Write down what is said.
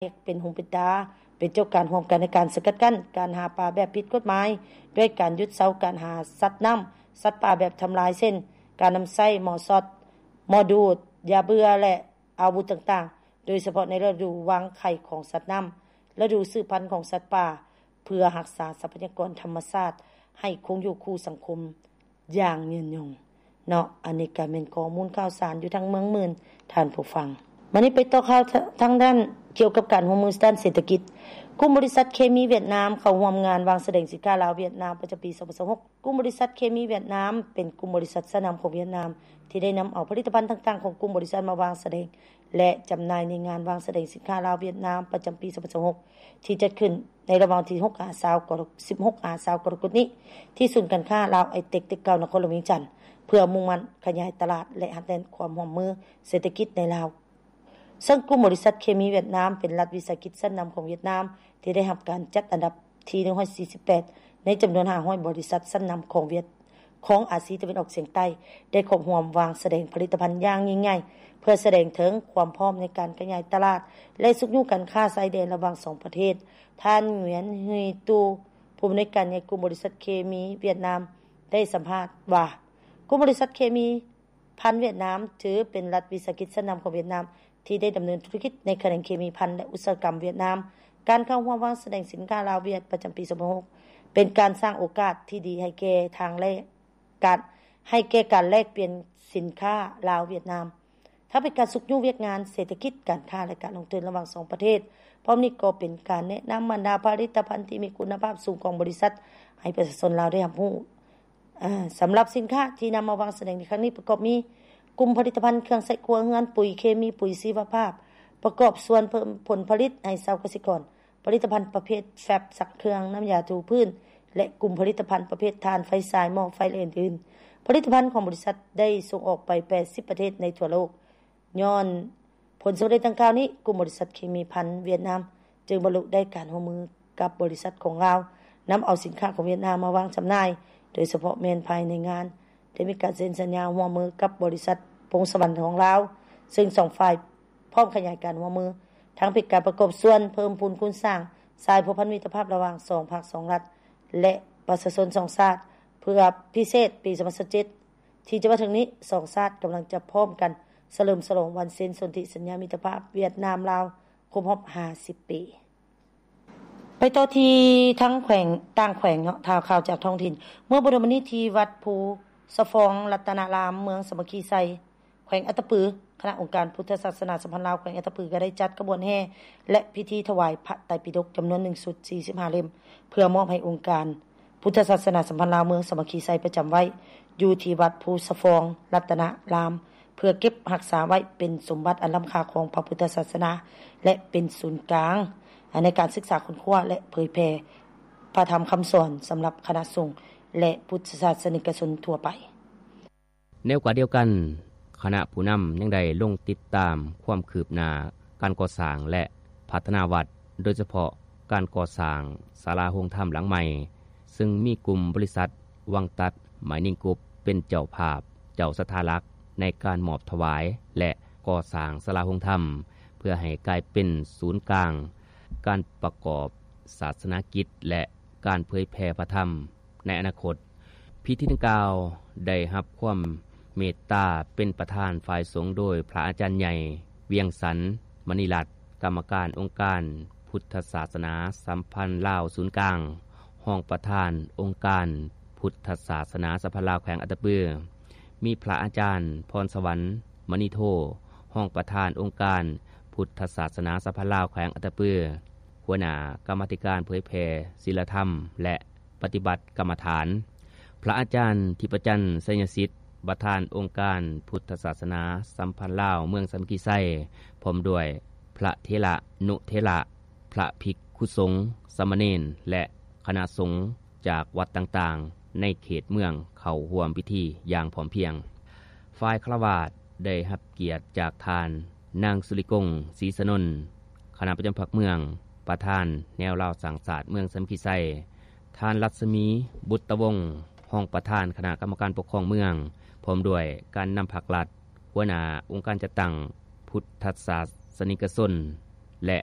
ກເປັນຫູເປັນຕາ, ເປັນເຈົ້າການຮ່ວມກັນໃນການສະກັດກັ້ນການຫາປາແບບຜິດກົດໝາຍ ດ້ວຍການຢຸດເຊົາການຫາສັດນ້ຳ, ສັດປ່າແບບທຳລາຍ ເຊັ່ນ ການນຳໃຊ້ໝໍ້ຊັອດ, ໝໍ້ດູດ, ຢາເບື່ອ ແລະ ອາວຸດຕ່າງໆ, ໂດຍສະເພາະໃນລະດູວາງໄຂ່ຂອງສັດນ້ຳ, ລະດູສືບພັນຂອງສັດປ່າ, ເພື່ອຮັກສາຊັບພະຍາກອນທຳມະຊາດໃຫ້ຄົງຢູ່ຄູ່ສັງຄົມຢ່າງຍືນຍົງເນາະ. ອັນນີ້ກໍແມ່ນຂໍ້ມູນຂ່າວສານຢູ່ທາງເມືອງໝື່ນ, ທ່ານຜູ້ຟັງ. ມານີ້ໄປຕໍ່ຂ່າວທາງດ້ານກ່ຽວກັບການຮ່ວມມືດ້ານເສດຖະກິດ. ກຸ່ມບໍລິສັດເຄມີຫວຽດນາມເຂົ້າຮ່ວມງານວາງສະແດງສິນຄ້າລາວ-ຫວຽດນາມປະຈຳປີສອງພັນຊາວຫົກ. ກຸ່ມບໍລິສັດເຄມີຫວຽດນາມເປັນກຸ່ມບໍລິສັດຊັ້ນນຳຂອງຫວຽດນາມ ທີ່ໄດ້ນຳເອົາຜະລິດຕະພັນຕ່າງໆຂອງກຸ່ມບໍລິສັດມາວາງສະແດງ ແລະ ຈຳໜ່າຍໃນງານວາງສະແດງສິນຄ້າລາວ-ຫວຽດນາມປະຈຳປີສອງພັນຊາວຫົກ ທີ່ຈັດຂຶ້ນໃນລະຫວ່າງວັນທີຫົກຫາຊາວ ກໍ ສິບຫົກຫາຊາ ກໍລະກົດນີ້ ທີ່ສູນການຄ້າລາວໄອເຕັກ ຕຶກເກົ່າ ນະຄອນຫຼວງວຽງຈັນ ເພື່ອມຸ່ງໝັ້ນຂະຫຍາຍຕະຫຼາດ ແລະ ຮັດແໜ້ນຄວາມຮ່ວມມືເສດຖະກິດໃນລາວ. ເຊິ່ງກຸ່ມບໍລິສັດເຄມີຫວຽດນາມ ເປັນລັດວິສາຫະກິດຊັ້ນນຳຂອງຫວຽດນາມ ທີ່ໄດ້ຮັບການຈັດອັນດັບທີໜຶ່ງຮ້ອຍສີ່ສິບແປດ ໃນຈຳນວນຫ້າຮ້ອຍບໍລິສັດຊັ້ນນຳຂອງຫວຽດ ຂອງອາຊີຕາເວັນອອກສຽງໃຕ້ ໄດ້ເຂົ້າຮ່ວມວາງສະແດງຜະລິດຕະພັນຢ່າງຍິ່ງໃຫຍ່ ເພື່ອສະແດງເຖິງຄວາມພ້ອມໃນການຂະຫຍາຍຕະຫຼາດ ແລະ ຊຸກຍູ້ການຄ້າຊາຍແດນລະຫວ່າງສອງປະເທດ. ທ່ານ ງວຽນ ຮີຕູ ຜູ້ອຳນວຍການໃຫຍ່ກຸ່ມບໍລິສັດເຄມີຫວຽດນາມ ໄດ້ສຳພາດວ່າ ກຸ່ມບໍລິສັດເຄມີພັນຫວຽດນາມ ຖືເປັນລັດວິສາຫະກິດຊັ້ນນຳຂອງຫວຽດນາມ ທີ່ໄດ້ດຳເນີນທຸລະກິດໃນຂະແໜງເຄມີພັນ ແລະ ອຸດສາຫະກຳຫວຽດນາມ. ການເຂົ້າຮ່ວມວາງສະແດງສິນຄ້າລາວ-ຫວຽດ ປະຈຳປີສອງພັນຊາວຫົກ ເປັນການສ້າງໂອກາດທີ່ດີໃຫ້ແກ່ທາງແລກ ການ ໃຫ້ແກ່ການແລກປ່ຽນສິນຄ້າລາວ-ຫວຽດນາມ, ທັງເປັນການຊຸກຍູ້ວຽກງານເສດຖະກິດ, ການຄ້າ ແລະ ການລົງທຶນລະຫວ່າງສອງປະເທດ. ພ້ອມນີ້ກໍເປັນການແນະນຳບັນດາຜະລິດຕະພັນທີ່ມີຄຸນນະພາບສູງຂອງບໍລິສັດ ໃຫ້ປະຊາຊົນລາວໄດ້ຮັບຮູ້. ອາ ສຳລັບສິນຄ້າທີ່ນຳມາວາງສະແດງໃນຄັ້ງນີ້ ປະກອບມີ ກຸ່ມຜະລິດຕະພັນເຄື່ອງໃຊ້ຄົວເຮືອນ, ປຸ໋ຍເຄມີ, ປຸ໋ຍຊີວະພາບ, ປະກອບສ່ວນເພີ່ມຜົນຜະລິດໃຫ້ຊາວກະສິກອນ, ຜະລິດຕະພັນປະເພດແຟັບຊັກເຄື່ອງ, ນ້ຳຢາຖູພື້ນ ແລະ ກຸ່ມຜະລິດຕະພັນປະເພດຖ່ານໄຟສາຍ, ໝໍ້ໄຟ ແລະ ອື່ນໆ. ຜະລິດຕະພັນຂອງບໍລິສັດໄດ້ສົ່ງອອກໄປແປດສິບປະເທດໃນທົ່ວໂລກ. ຍ້ອນຜົນສຳເລັດດັ່ງກ່າວນີ້, ກຸ່ມບໍລິສັດເຄມີພັນຫວຽດນາມ ຈຶ່ງບັນລຸໄດ້ການຮ່ວມມືກັບບໍລິສັດຂອງລາວ ນຳເອົາສິນຄ້າຂອງຫວຽດນາມມາວາງຈຳໜ່າຍ, ໂດຍສະເພາະແມ່ນພາຍໃນງານ ໄດ້ມີການເຊັນສັນຍາຮ່ວມມືກັບບໍລິສັດພົງສະຫວັນຂອງລາວ, ເຊິ່ງສອງຝ່າຍ ພ້ອມຂະຫຍາຍການຮ່ວມມື ທັງເປັນການປະກອບສ່ວນເພີ່ມພູນຄູນສ້າງສາຍພົວພັນມິດຕະພາບລະຫວ່າງສອງພັກສອງລັດ ແລະ ປະຊາຊົນສອງຊາດ ເພື່ອພິເສດປີສອງພັນຊາວເຈັດ ທີ່ຈະມາເຖິງນີ້ ສອງຊາດກຳລັງຈະພ້ອມກັນສະເຫຼີມສະຫຼອງວັນເຊັນສົນທິສັນຍາມິດຕະພາບຫວຽດນາມ-ລາວ ຄົບຮອບຫ້າສິບປີ. ໄປຕໍ່ທີ່ທາງແຂວງ ຕ່າງແຂວງເນາະ, ຂ່າວ ຂ່າວຈາກທ້ອງຖິ່ນ. ເມື່ອບໍ່ດົນມານີ້ ທີ່ວັດພູສະຟອງລັດຕະນາລາມ ເມືອງສາມັກຄີໄຊ ແຂວງອັດຕະປື, ຄະນະອົງການພຸດທະສາສະໜາສຳພັນລາວແຂວງອັດຕະປື ກໍໄດ້ຈັດຂະບວນແຫ່ ແລະ ພິທີຖວາຍພະໄຕປິດົກຈຳນວນໜຶ່ງຊຸດ ສີ່ສິບຫ້າເຫຼັ້ມ ເພື່ອມອບໃຫ້ອົງການພຸດທະສາສະໜາສຳພັນລາວເມືອງສາມັກຄີໄຊ ປະຈຳໄວ້ຢູ່ທີ່ວັດພູສະຟອງລັດຕະນາລາມ ເພື່ອເກັບຮັກສາໄວ້ເປັນສົມບັດອັນລ້ຳຄ່າຂອງພະພຸດທະສາສະໜາ ແລະ ເປັນສູນກາງໃນການສຶກສາຄົ້ນຄວ້າ ແລະ ເຜີຍແຜ່ພະທຳຄຳສອນສຳລັບຄະນະສົງ ແລະ ພຸດທະສາສະນິກະຊົນທົ່ວໄປ. ໃນໂອກາດດຽວກັນ, ຄະນະຜູ້ນຳຍັງໄດ້ລົງຕິດຕາມຄວາມຄືບໜ້າການກໍ່ສ້າງ ແລະ ພັດທະນາວັດ, ໂດຍສະເພາະການກໍ່ສ້າງສາລາໂຮງທຳຫຼັງໃໝ່, ເຊິ່ງມີກຸ່ມບໍລິສັດວັງຕັດ ໄມນິງກຣຸບ ເປັນເຈົ້າພາບ, ເຈົ້າສັດທາຫຼັກໃນການມອບຖວາຍ ແລະ ກໍ່ສ້າງສາລາໂຮງທຳ ເພື່ອໃຫ້ກາຍເປັນສູນກາງການປະກອບສາສະໜາກິດ ແລະ ການເຜີຍແຜ່ພະທຳໃນອະນາຄົດ. ພິທີດັ່ງກ່າວໄດ້ຮັບຄວາມເມດຕາເປັນປະທານຝ່າຍສົງໂດຍພະອາຈານໃຫຍ່ ວຽງສັນ ມະນີລັດ ກຳມະການອົງການພຸດທະສາສະໜາສຳພັນລາວສູນກາງ, ຮອງປະທານອົງການພຸດທະສາສະໜາສຳພັນລາວແຂວງອັດຕະປື, ມີພະອາຈານ ພອນສະຫວັນ ມະນີໂທ, ຮອງປະທານອົງການພຸດທະສາສະໜາສຳພັນລາວແຂວງອັດຕະປື, ຫົວໜ້າກຳມາທິການເຜີຍແຜ່ສີລະທຳ ແລະ ປະຕິບັດກຳມະຖານ, ພະອາຈານທິບປະຈັນ ໄຊຍະສິດ ປະທານອົງການພຸດທະສາສະໜາສຳພັນລາວເມືອງສາມັກຄີໄຊ, ພ້ອມດ້ວຍພະເຖລະນຸເຖລະ, ພະພິກຂຸສົງ, ສາມະເນນ ແລະ ຄະນະສົງຈາກວັດຕ່າງໆໃນເຂດເມືອງເຂົ້າຮ່ວມພິທີຢ່າງພ້ອມພຽງ. ຝ່າຍຄາລະວາດໄດ້ຮັບກຽດຈາກທ່ານ ນາງ ສຸລິກົງ ສີສະໜົນ, ຄະນະປະຈຳພັກເມືອງ, ປະທານແນວລາວສ້າງຊາດເມືອງສາມັກຄີໄຊ, ທ່ານ ລັດສະໝີ ບຸດຕະວົງ, ຮອງປະທານຄະນະກຳມະການປົກຄອງເມືອງ, ພ້ອມດ້ວຍການນຳພັກລັດ, ຫົວໜ້າອົງການຈັດຕັ້ງພຸດທະສາສະນິກະຊົນ ແລະ